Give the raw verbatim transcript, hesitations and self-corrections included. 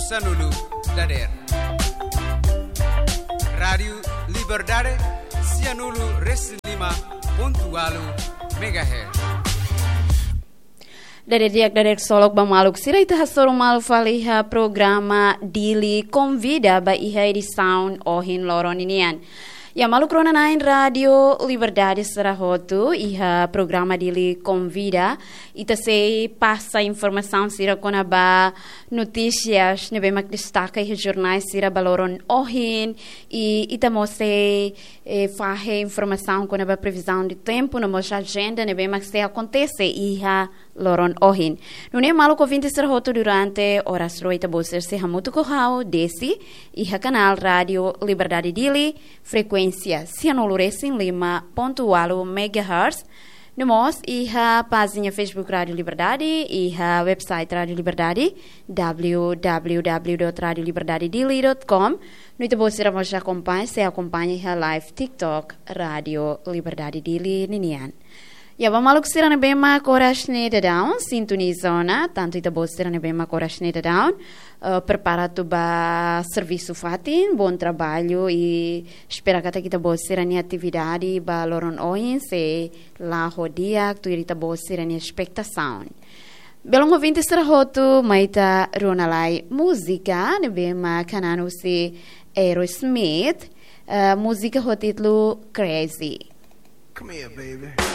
Sanulu dader. Rádiu Liberdade, sianulu resin lima pontu walu megahertz. Dader di'ak, dader solok ba maluk sira, ita hasoru malu fali iha programa Dili Konvida ba iha edisaun ohin loron ninian. Ya, maluk rona-na'in Rádiu Liberdade sira hotu, iha programa Dili Konvida, ita sei pasa informasaun sira kona-ba notísias ne'ebé mak destaka iha jornál sira ba loron ohin, i ita mós sei, eh, fahe informasaun kona-ba previzaun de tempu no mós ajenda ne'ebé mak sei akontese iha loron ohin. Nune'e maluk ouvinte sira hotu, durante oras rua ita-boot sira sei hamutuk ho ha'u, Desi, iha kanál Rádiu Liberdade Dili, frekuénsia sianulu resin lima pontu walu megahertz. No mós iha pájina Facebook Rádiu Liberdade, iha website Rádiu Liberdade, www dot radio liberdade dili dot com. No ita-boot sira mós akompaña, sei akompaña iha live TikTok Rádiu Liberdade Dili ninian. Ya, ba maluk sira ne'ebé mak oras ne'e daudaun sintoniza ona, tantu ita-boot sira ne'ebé mak oras ne'e daudaun, eh, prepara atu ba servisu fatin, bom trabalho, i espera katak ita-boot sira-nia atividade ba loron ohin sei la'o ho di'ak, tuir ita-boot sira-nia espetasaun. Belun ouvinte sira hotu, mai ita rona lai múzika ne'ebé mak hanan husi Aerosmith, eh, múzika ho títulu Crazy. Come here, baby.